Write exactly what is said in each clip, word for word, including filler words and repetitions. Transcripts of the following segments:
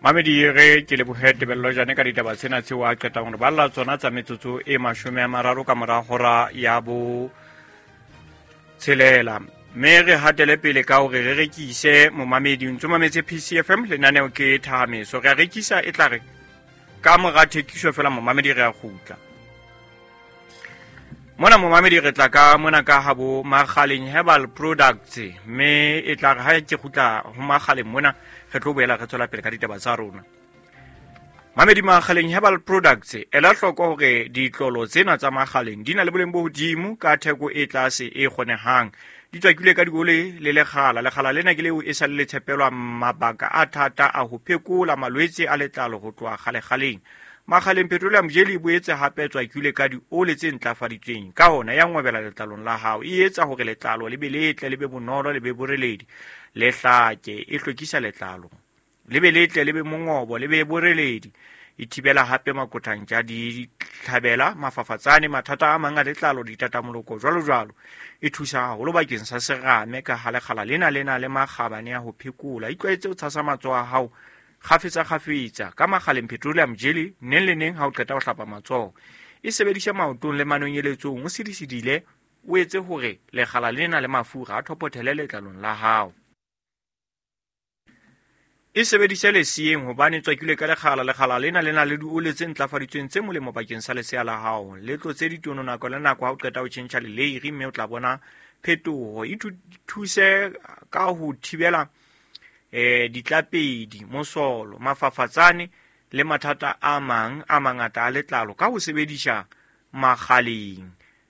Mamedi re ke lebohe Tebello Jane ka ditaba tsena tseo a qetang hore balla tsona tsa metsotso e mashome a mararo ka mora hora ya bo tshelela. Mme re hatele pele ka hore re rekise momamedi o ntso mametse P C F M lenaneo ke Thahameso. Re a rekisa e tla re ka mora thekiso fela momamedi re a kgutla. Mona momamedi re tla ka mona ka habo Makgaleng Herbal Products, mme e tla re ha ke kgutla ho Makgaleng mona re tlo boela re tswela pele ka ditaba tsa rona. Mamedi Makgaleng Herbal Products ela hloko hore ditlolo tsena tsa Makgaleng di na le boleng bo hodimo ka theko e tlase e kgonehang. Di tswakilwe ka diole le lekgala. Lekgala lena ke leo e sa le le tshepelwa mabaka a thata a ho phekola malwetse a letlalo ho tloha kgalekgaleng. Makgaleng Petroleum Jelly e boetse hape tswakilwe ka diole tse ntlafaditsweng. Ka hona ya ngwebela letlalong la hao, e etsa hore letlalo le be letle, le be bonolo, le be boreledi, le hlake, e hlwekisa letlalo. Le be letle, le be mongobo, le be boreledi. E thibela hape makothantja, ditlhabela, mafafatsane, mathata a mang a letlalo, ditatamoloko, jwalo jwalo. E thusa haholo bakeng sa serame ka ha lekgala lena le na le makgabane a ho phekola. Itlwaetse ho tshasa matsoho a hao kgafetsa kgafetsa ka Makgaleng Petroleum Jelly neng le neng ha o qeta ho hlapa matsoho. E sebedisha maotong le manonyeletsong, o sidisidile, o etse hore lekgala lena le mafura a thopothele letlalong la hao. E sebedise leseyeng hobane tswakilwe ka lekgala. Lekgala lena le na le diole tse ntlafaditsweng tse molemo bakeng sa lesea la hao. Le tlotse ditono nako le nako ha o qeta ho tjhentjha leleiri, mme o tla bona phetoho. E thuse ka ho thibela eh ditlapedi, mosolo, mafafatsane le mathata a mang a mangata a letlalo ka ho sebedisa Makgaleng.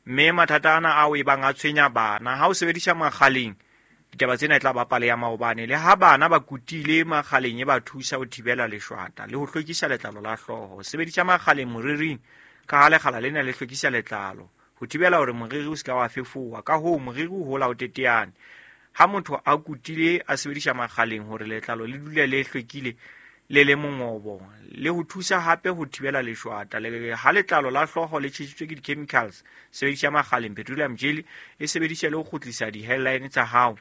Mme mathata ana ao e bang a tshwenya bana, ha o sebedisa Makgaleng ditaba tsena e tla ba pale ya maobane. Le ha bana ba kutile Makgaleng e ba thusa ho thibela leshwata le ho hlwekisa letlalo la hlooho. Sebedisa Makgaleng moriring ka ha lekgala lena le hlwekisa letlalo ho thibela hore moriri o se ka wa fefowa. Ka hoo moriri o hola o teteane. Ha motho a kutile a sebedisa Makgaleng hore letlalo le dule le hlwekile le le mongobo, le ho thusa hape ho thibela leshwata. Le ha letlalo la hlooho le tjhesitswe ke di-chemicals, sebedisa Makgaleng Petroleum Jelly. E sebedise le ho kgutlisa di-hairline tsa hao.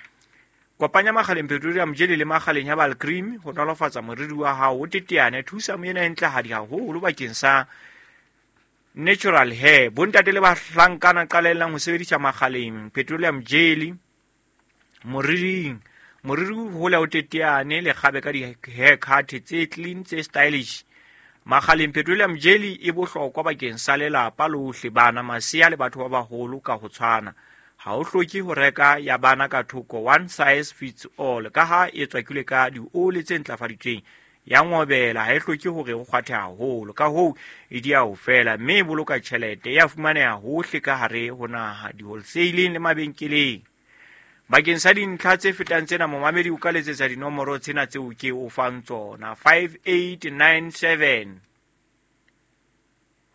Kopanya Makgaleng Petroleum Jelly le Makgaleng Herbal Cream ho nolofatsa moriri wa hao o teteane. Thusa moena e ntlehadi haholo bakeng sa natural hair. Bontate le bahlankana qalellang ho sebedisa Makgaleng Petroleum Jelly moriring. Moriri o hola o teteane, le kgabe ka di-haircut tse clean, tse stylish. Makgaleng Petroleum Jelly e bohlokwa bakeng sa lelapa lohle, bana, masea le batho ba baholo ka ho tshwana. Ha o hloke ho reka ya bana ka thoko, one size fits all, ka ha e tswakilwe ka diole tse ntlafaditsweng. Ya ngobela, ha e hloke hore o kgwathe haholo, ka hoo e di a ho fela, mme e boloka tjhelete. E a fumaneha hohle ka hare ho naha, di-wholesaleng le mabenkeleng. Bakeng sa dintlha tse fetang tsena, momamedi o ka letsetsa dinomoro tsena tseo ke o fang tsona: five eight nine seven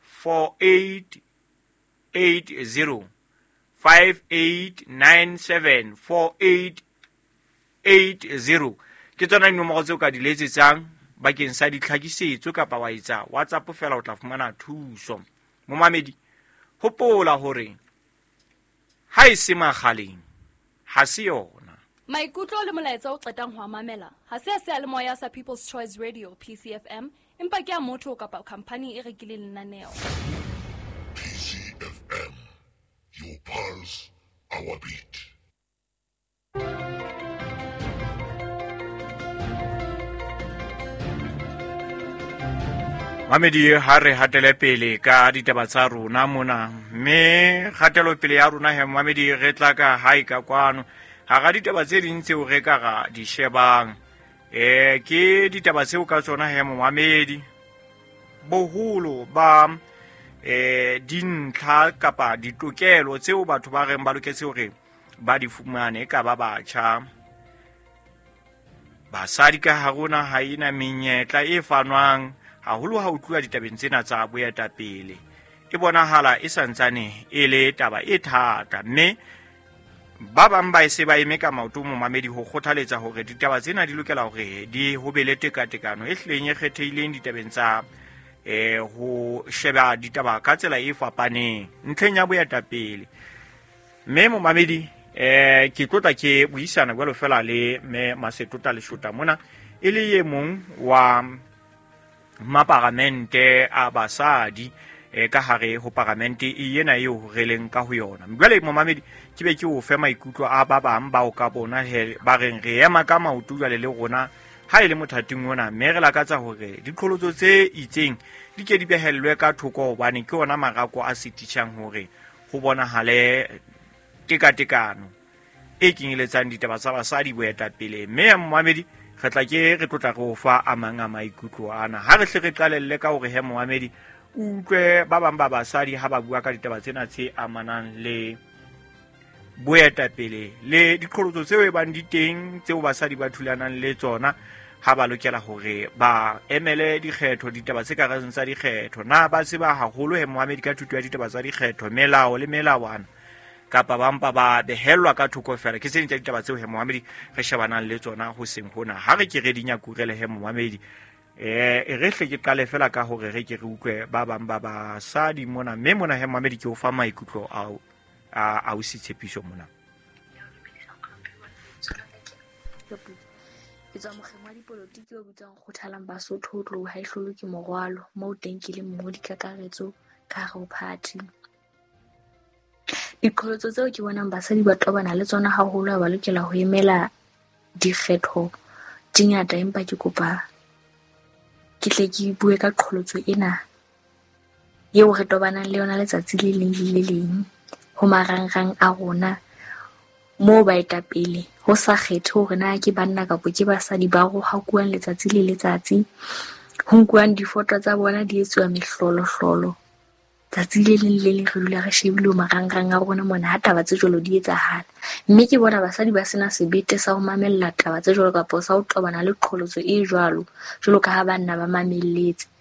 four eight eight zero, five eight nine seven four eight eight zero. Ke tsona dinomoro tseo ka di letsetsang bakeng sa ditlhakisetso kapa wa etsa WhatsApp fela o tla fumana thuso. Momamedi, hopola hore ha e se Makgaleng ha se yona. Maikutlo le molaetsa o qetang ho a mamela ha se a seyalemoya sa People's Choice Radio P C F M, empa ke a motho kapa khampani e rekileng lenaneo. P C F M, your pulse, our beat. Mamedi, ha re hatele pele ka ditaba tsa rona mona, mme kgatelopele ya rona he mamedi re tla ka hae ka kwano. Hara ditaba tse ding tseo re ka ra di shebang, eh ke ditaba tseo ka tsona he momamedi boholo ba eh dintlha kapa ditokelo tseo batho ba reng ba loketse hore ba di fumane ka ba batjha. Basadi ka ha rona ha ena menyetla e fanwang haholo ha o tluwa ditabeng tsena tsa boetapele. E bonahala e santsane e le taba e thata, mme ba bang ba e se ba eme ka maoto momamedi ho kgothaletsa hore ditaba tsena di lokela hore di ho be le tekatekano e hlileng e kgethehileng ditabeng tsa eh ho sheba ditaba ka tsela e fapaneng ntlheng ya boetapele. Mme momamedi Eh ke tlotla ke buisana jwalo fela le me Masetota Leshota mona e le ye mong wa maparamente a basadi e ka hare ho paramente e yena eo re leng ka ho yona. Jwale momamedi ke be ke o fe maikutlo a ba bang bao ka bona he ba reng re ema ka maoto jwale le rona ha e le mothating ona, mme re lakatsa hore diqholotso tse itseng di ke di behellwe ka thoko hobane ke ona marako a sitishang hore ho bonahale tekatekano e kenyeletsang ditaba tsa basadi boetapele. Mme momamedi re tla ke re tlotla re o fa a mang a maikutlo ana. Ha re hle re qalelle ka hore he momamedi utlwe ba bang ba basadi ha ba bua ka ditaba tsena tse amanang le boetapele le diqholotso tseo e bang di teng tseo basadi ba thulanang le tsona ha ba lokela hore ba emele dikgetho, ditaba tse ka reng tsa dikgetho. Na ba tseba haholo he momamedi ka thuto ya ditaba tsa dikgetho, melao le melawana, kapa ba mpa ba behellwa ka thoko fela? Ke tse ding tsa ditaba tseo he momamedi re shebanang le tsona ho seng hona. Ha re ke re di nyakurele he momamedi, eh e re hle ke qale fela ka hore re ke re utlwe ba bang ba basadi mona, mme mona he momamedi ke o fa maikutlo ao a a o se tshepiso mona. Ke tswa mokgeng wa dipolotiki o bitswang Kgothalang Basotho ho tloha ha e hlolwe ke morwalo, moo teng ke le mongodi kakaretso ka hare ho party. Diqholotso tseo ke bonang basadi ba tobana le tsona haholo ha ba lokela ho emela dikgetho di ngata, empa ke kopa ke tle ke bue ka qholotso ena eo re tobanang le yona letsatsi le leng le le leng ho marangrang a rona, moo baetapele ho sa kgethe hore na ke banna kapa ke basadi ba rohakuwang letsatsi le letsatsi, ho nkuwang difoto tsa bona di etsuwa mehlolohlolo. Tsatsi le leng le leng re dula re shebile ho marangrang a rona mona ha taba tse jwalo di etsahala. Mme ke bona basadi ba sena sebete sa ho mamella taba tse jwalo kapa sa ho tobana le qholotso e jwalo, jwalo ka ha banna ba mamelletse.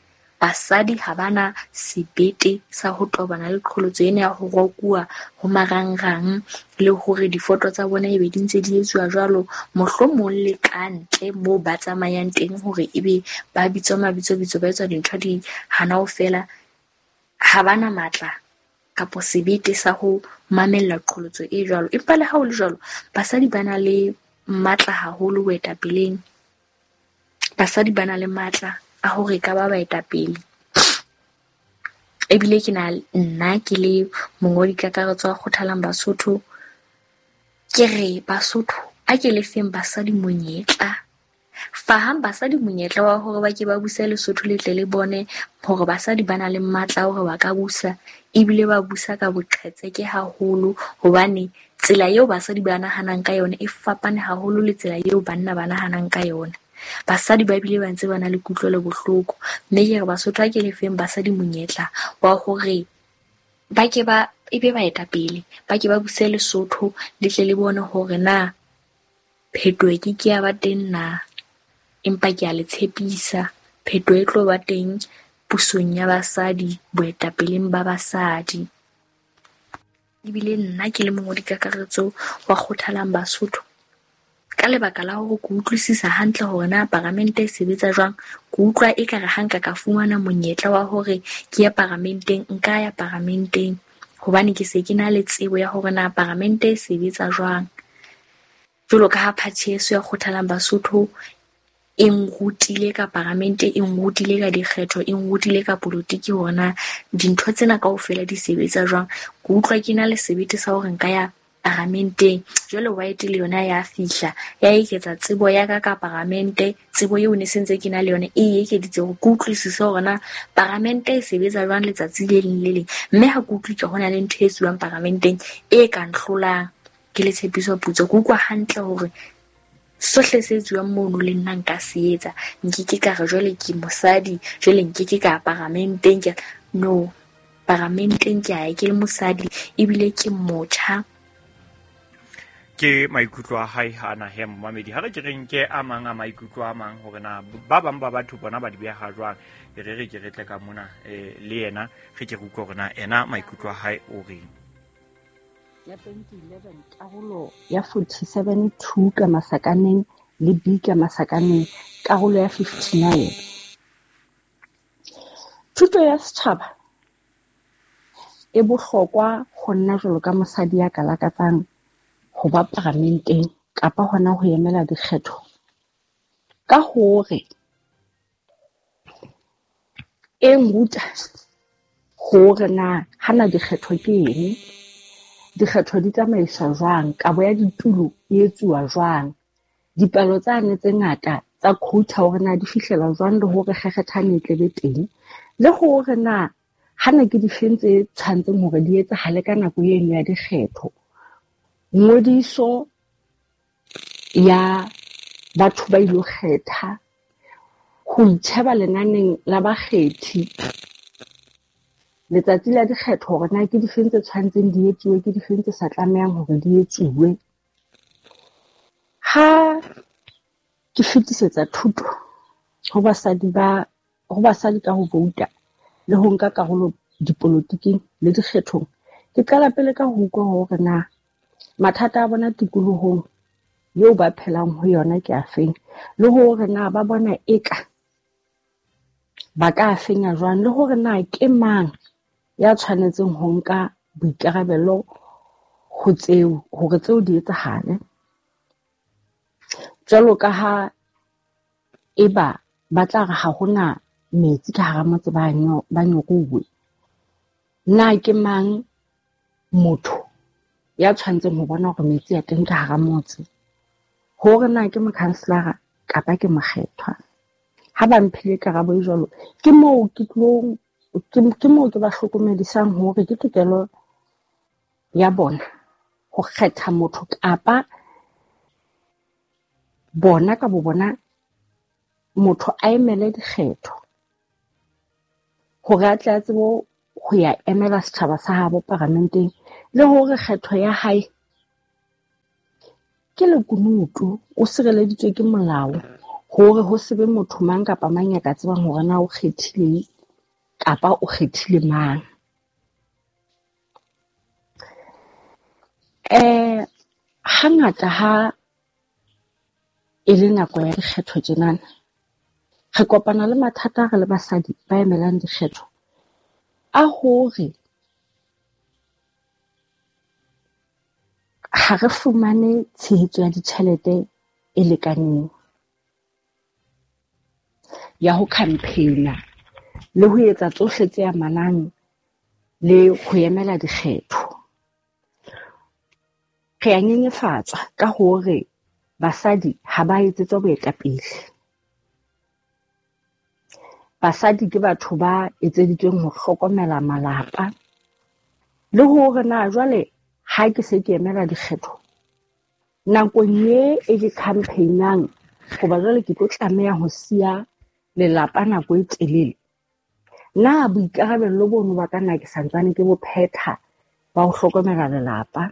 Basadi ha bana sebete sa ho tobana le qholotso ena ya ho rokuwa ho marangrang le hore difoto tsa bona ebe di ntse di etsuwa jwalo, mohlomong le ka ntle moo ba tsamayang teng hore ebe ba bitswa mabitsobitso, ba etswa dintho di hana ho fela. Ha bana matla kapa sebete sa ho mamella qholotso e jwalo. Empa le ha ho le jwalo, basadi ba na le matla haholo boetapeleng. Basadi ba na le matla a hore ka ba baetapele. Ebile ke na nna ke le mongodi kakaretso wa Kgothalang Basotho, ke re Basotho a ke lefeng basadi monyetla. Fahang basadi monyetla wa hore ba ke ba buse Lesotho le tle le bone hore basadi ba na le matla a hore ba ka busa, ebile ba busa ka boqhetseke haholo, hobane tsela eo basadi ba nahanang ka yona e fapane haholo le tsela eo banna ba nahanang ka yona. Basadi ba bile ba ntse ba na le kutlwelo bohloko, mme ke re Basotho a ke lefeng basadi monyetla wa hore ba ke ba ebe baetapele, ba ke ba buse Lesotho le tle le bone hore na phetoho e ke ke ya ba teng na. Empa ke a le tshepisa, phetoho e tlo ba teng pusong ya basadi, boetapeleng ba basadi. Ebile nna ke le mongodi kakaretso wa Kgothalang Basotho, ka lebaka la hore ke utlwisisa hantle hore na paramente e sebetsa jwang, ke utlwa ekare ha nka ka fumana monyetla wa hore ke ye paramenteng, nka ya paramenteng, hobane ke se ke na le tsebo ya hore na paramente e sebetsa jwang. Jwalo ka ha party yeso ya Kgothalang Basotho e nrutile ka paramente, e nrutile ka dikgetho, e nrutile ka polotiki hore na dintho tsena kaofela di sebetsa jwang, ke utlwa ke na le sebete sa hore nka ya paramenteng. Jwale white le yona ya fihla ya eketsa tsebo ya ka ka paramente, tsebo eo ne sentse ke na le yona e ekeditse hore ke utlwisise hore na paramente e sebetsa jwang letsatsi le leng le leng. Mme ha ke utlwe ke hona le ntho e etsuwang paramenteng e ka nhlolang, ke le tshepiso putso, ke utlwa hantle hore sohle se etsuwang mono le nna nka se etsa. Nkeke ka re jwale ke mosadi, jwale nkeke ka paramenteng, ke no paramenteng ke a ke le mosadi ebile ke motjha. Ke maikutlo a hae ana he momamedi. Ha re ke re nke a mang a maikutlo a mang hore na ba bang ba batho bona ba di beha jwang, e re re ke re tle ka mona eh, le yena re ke re utlwe hore na ena maikutlo a hae o reng. Ya twenty eleven karolo ya forty-seven two ka masakaneng le B ka masakaneng karolo ya fifty-nine. Thuto ya setjhaba e bohlokwa ho nna jwalo ka mosadi ya ka lakatsang ho ba paramenteng kapa hona ho emela dikgetho ka hore e nruta hore na hana dikgetho ke eng, dikgetho di tsamaiswa jwang, kabo ya ditulo e etsuwa jwang, dipalo tsane tse ngata tsa quota hore na di fihlela jwang le hore kgekgethane e tle be teng, le hore na hana ke difeng tse tshwantseng hore di etsahale ka nako eno ya dikgetho. Ngodiso ya batho ba ilo kgetha, ho itjheba lenaneng la bakgethi letsatsi la dikgetho hore na ke difeng tse tshwantseng di etsuwe, ke difeng tse sa tlamehang hore di etsuwe. Ha ke fetisetsa thuto ho basadi ba ho basadi ka ho vouta le ho nka karolo dipolotiking le dikgethong, ke qala pele ka ho utlwa hore na mathata a bona tikolohong eo ba phelang ho yona ke afeng, le hore na ba bona eka ba ka fenya jwang, le hore na ke mang ya tshwanetseng ho nka boikarabelo ho tseo hore tseo di etsahale. Jwalo ka ha eba ba tla re ha hona metsi ka hara motse ba ba nyoruwe, na ke mang motho ya tshwanetseng ho bona hore metsi a teng ka hara motse, hore na ke mokhanselara kapa ke mokgethwa. Ha ba mphile karabo e jwalo, ke moo ke tlong ke moo ke ba hlokomedisang hore ke tokelo ya bona ho kgetha motho kapa bona ka bo bona motho a emele dikgetho hore a tle a tsebe ho ya emela setjhaba sa habo paramenteng, le hore kgetho ya hae ke lekunutu, o sireleditswe ke molao hore ho se be motho mang kapa mang ya ka tsebang hore na o kgethile kapa o kgethile mang. Eh hangata ha e le nako ya dikgetho tjenana, re kopana le mathata re le basadi ba emelang dikgetho a hore ha re fumane tshehetso ya ditjhelete e lekaneng ya ho campaign-a le ho etsa tsohle tse amanang le ho emela dikgetho. Re a nyenyefatswa ka hore basadi ha ba etsetswa boetapele. Basadi ke batho ba etseditsweng ho hlokomela malapa, le hore na jwale ha ke se ke emela dikgetho nakong e e ke campaign-ang, hoba jwale ke tlo tlameha ho siya lelapa nako e telele, na boikarabello bono ba ka na ke santsane ke bo phetha ba ho hlokomela lelapa.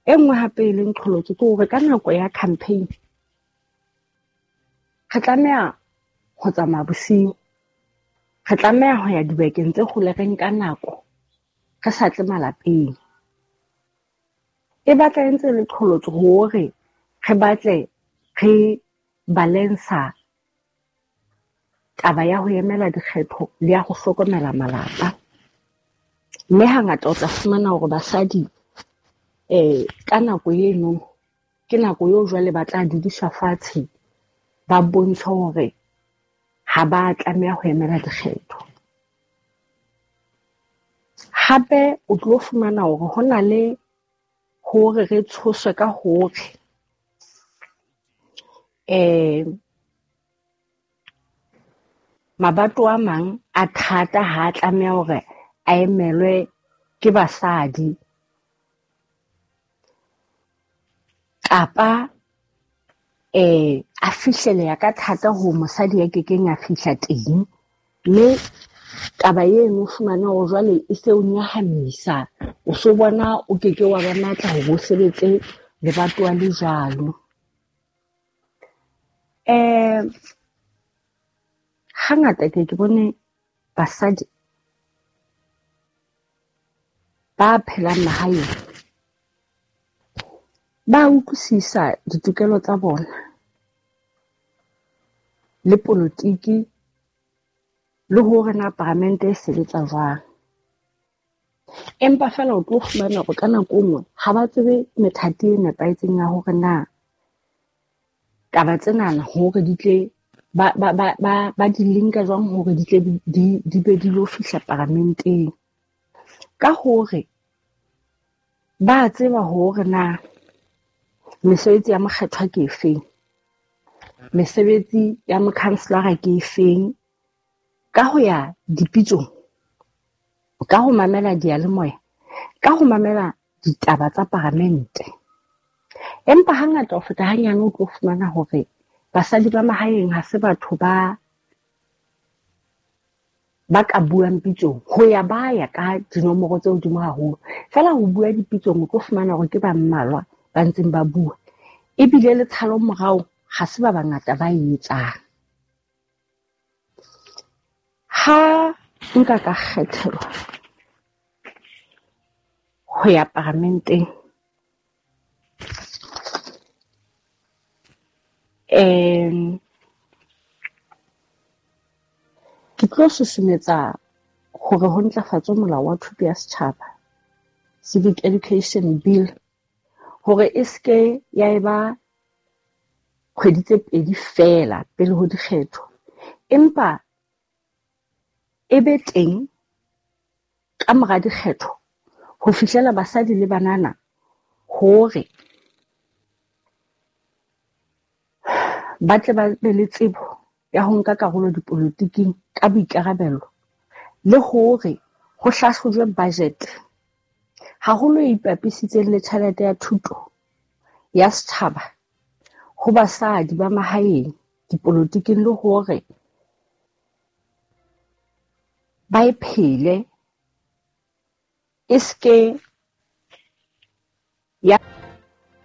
E nngwe hape e leng qholotso ke hore ka nako ya campaign re tlameha ho tsamaya bosiu, re tlameha ho ya dibakeng tse hole, re nka nako re sa tle malapeng. E batla e ntse le qholotso hore re batle re balance-a taba ya ho emela dikgetho le ya ho hlokomela malapa. Mme hangata o tla fumana hore basadi eh ka nako eno ke nako eo jwale ba tla dudiswa fatshe, ba bontshe hore ha ba tlameha ho emela dikgetho. Hape o tlo fumana hore ho na le hore re tshoswe ka hore eh mabato a mang a thata ha a tlameha hore a emelwe ke basadi, kapa eh a fihleleha ka thata ho mosadi ya kekeng a fihla teng. Mme taba eno o fumane hore jwale e se o nyahamisa, o so bona o keke wa ba matla hore o sebetse lebatowa le jwalo. Eh hangata ke ke bone basadi ba phelang mahaeng ba utlwisisa ditokelo tsa bona le politiki le hore na paramente e sebetsa jwang. Empa feela o tlo fumana hore ka nako e nngwe ha ba tsebe methati e nepahetseng ya hore na taba tsenana hore di tle ba ba ba ba ba di linka jwang hore di tle di di be di lo fihla paramenteng. Ka hore ba tseba hore na mesebetsi ya mokgethwa ke efeng, mesebetsi ya mokhanselara ke efeng, ka ho ya dipitsong, ka ho mamela diyalemoya, ka ho mamela ditaba tsa paramente. Empa hangata ho feta hanyane o tlo fumana hore basadi ba mahaeng ha se batho ba ba ka buang pitsong, ho ya ba ya ka dinomoro tse hodimo haholo. Feela ho bua dipitsong o tlo fumana hore ke ba mmalwa ba ntseng ba bua, ebile le tshalo morao ha se ba bangata ba e etsang. Ha nka ka kgethelwa ho ya paramenteng, um ke tlo susumetsa hore ho ntlafatswe molao wa thuto ya setjhaba, Civic Education Bill, hore e ske ya eba kgwedi tse pedi feela pele ho dikgetho, empa e be teng ka mora dikgetho ho fihlela basadi le banana hore ba tle ba be le tsebo ya ho nka karolo dipolotiking ka boikarabelo, le hore ho hlahlojwe budget haholo e ipapisitseng le tjhelete ya thuto ya setjhaba ho basadi ba mahaeng dipolotiking, le hore ba e phele e ske ya